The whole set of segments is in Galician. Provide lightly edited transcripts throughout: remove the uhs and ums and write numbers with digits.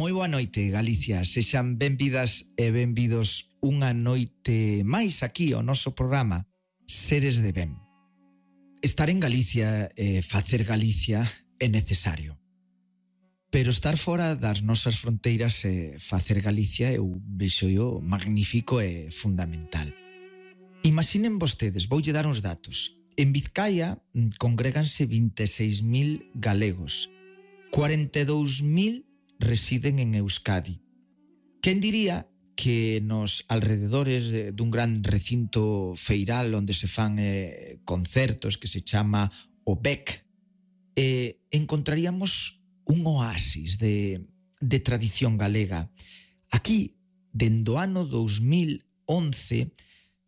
Moi boa noite, Galicia. Sexan benvidas e benvidos unha noite máis aquí ao noso programa Seres de Ben. Estar en Galicia e facer Galicia é necesario. Pero estar fora das nosas fronteiras e facer Galicia eu vexo magnífico e fundamental. Imaginen vostedes, voulle dar uns datos. En Vizcaya congréganse 26.000 galegos, 42.000 residen en Euskadi. Quen diría que nos alrededores dun gran recinto feiral onde se fan concertos que se chama o BEC, encontraríamos un oasis de tradición galega. Aquí, dende o ano 2011,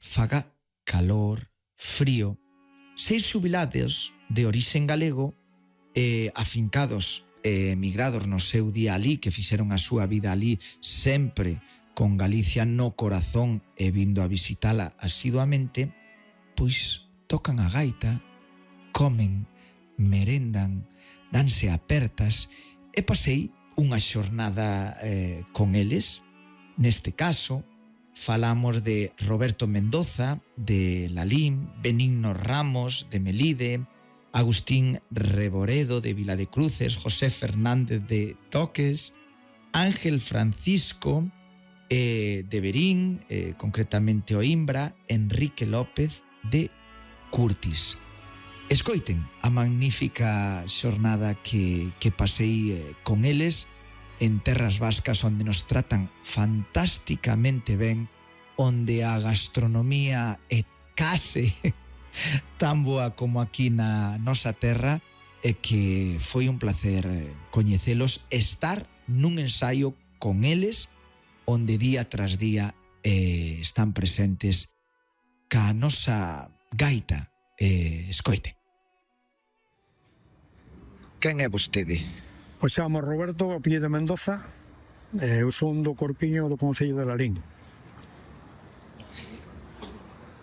faga calor, frío, 6 xubilados de orixen galego afincados e emigrados no seu día alí, que fixeron a súa vida alí sempre con Galicia no corazón e vindo a visitala asiduamente, pois tocan a gaita, comen, merendan, danse apertas e pasei unha xornada con eles. Neste caso, falamos de Roberto Mendoza, de Lalín, Benigno Ramos, de Melide, Agustín Reboredo de Viladecruces, José Fernández de Toques, Ángel Francisco de Verín, concretamente o Imbra, Enrique López de Curtis. Escoiten a magnífica xornada que pasei con eles en terras vascas, onde nos tratan fantásticamente ben, onde a gastronomía é case tan boa como aquí na nosa terra, e que foi un placer coñecelos, estar nun ensaio con eles onde día tras día están presentes ca nosa gaita. Escoite. Quen é vostede? Pois chamo Roberto, apellido Mendoza, eu son do Corpiño do Concello de Lalín.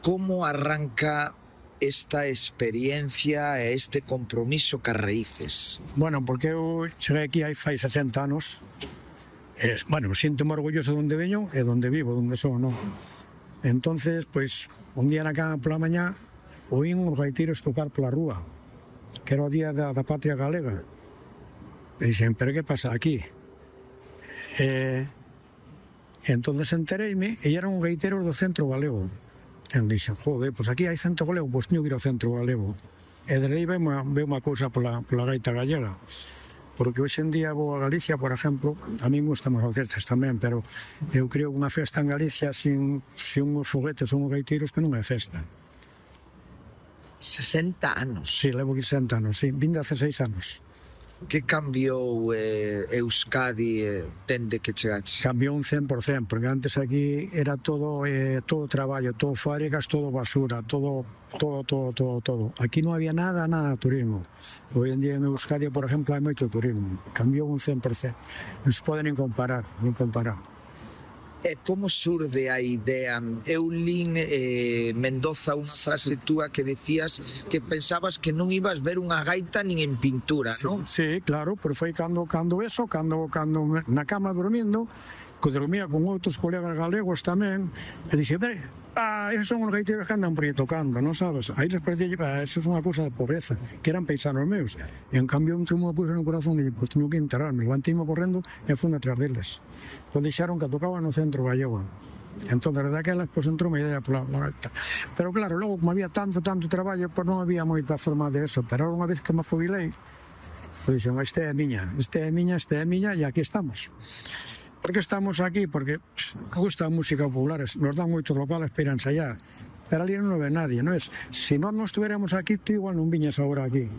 Como arranca esta experiencia e este compromiso cas raíces? Bueno, porque eu cheguei aquí hai 60 anos. Sinto-me orgulloso de onde veño e de onde vivo, de onde son, non? Entonces, pois, un día na cama pola mañá oín os gaiteiros tocar pola rúa, que era o día da patria galega. E dixen, pero que pasa aquí? Entonces entereime, e eran gaiteiros do centro galego. E dixen, joder, pois aquí hai centro galego, pois teño que ir ao centro galego. E desde aí veo unha cousa pola gaita gallega. Porque hoxe en día vou a Galicia, por exemplo, a min gustan as orquestas tamén, pero eu creo que unha festa en Galicia sin uns foguetes ou uns gaiteiros que non é festa. 60 anos? Sí, levo aquí 60 anos, sí, 26 anos. Que cambiou Euskadi dende que chegaches? Cambiou un 100%, porque antes aquí era todo traballo, todo fábricas, todo basura, todo. Aquí non había nada de turismo. Hoy en día en Euskadi, por exemplo, hai moito turismo. Cambiou un 100%. Non se pode nin comparar. E como surde a idea? Eu lín, Mendoza, unha frase túa que decías que pensabas que non ibas ver unha gaita nin en pintura, non? Sí, claro, pero foi cando na cama dormindo, que dormía con outros colegas galegos tamén, e dixe, esos son os gaiteiros que andan por aí tocando, non sabes? Aí les parecía, eso é unha cousa de pobreza, que eran paisanos meus. E en cambio, un unha cousa no corazón, e pois teño que enterarme, levantíme correndo e fui atrás deles. Entón deixaron que tocaban no centro gallego. Entón, desde aquelas, pois entrou unha idea pola gaita. Pero claro, logo, como había tanto traballo, pois non había moita forma de eso. Pero unha vez que me jubilei, pois dixen, esta é miña, e aquí estamos. Por que estamos aquí? Porque gusta a música popular, nos dan moitos locales para ir a ensayar, pero ali non ve nadie, non é? Se nós non estuviéramos aquí, tú igual non viñas agora aquí,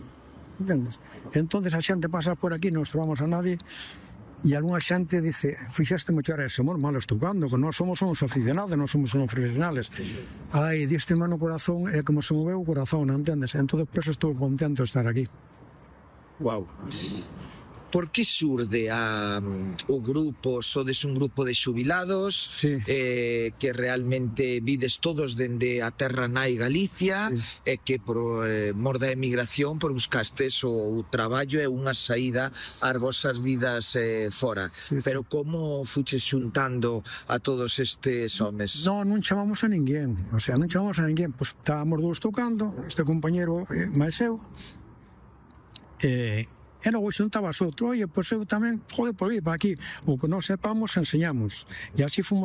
entendes? Entonces a xente pasa por aquí, non trovamos a nadie, e algunha xente dice, fixaste moito a eso, malos tocando, que nós somos uns aficionados, non somos uns profesionales. Ai, diste mano corazón, é como se moveu o corazón, non entendes? Entón, por eso estou contento de estar aquí. Wow. por que surde o grupo? Sodes un grupo de xubilados, Sí. Que realmente vides todos dende a terra nai Galicia, Sí. e que por mor da emigración por buscastes o traballo e unha saída ás vosas vidas fora. Sí, sí. Pero como fuches xuntando a todos estes homes? Non chamamos a ninguén, o sea, non chamamos a ninguén, pois estábamos dous tocando, este compañero máis eu, e logo xuntabas outro, oye, pois eu tamén, joder, por vir para aquí, o que non sepamos enseñamos, e así fomos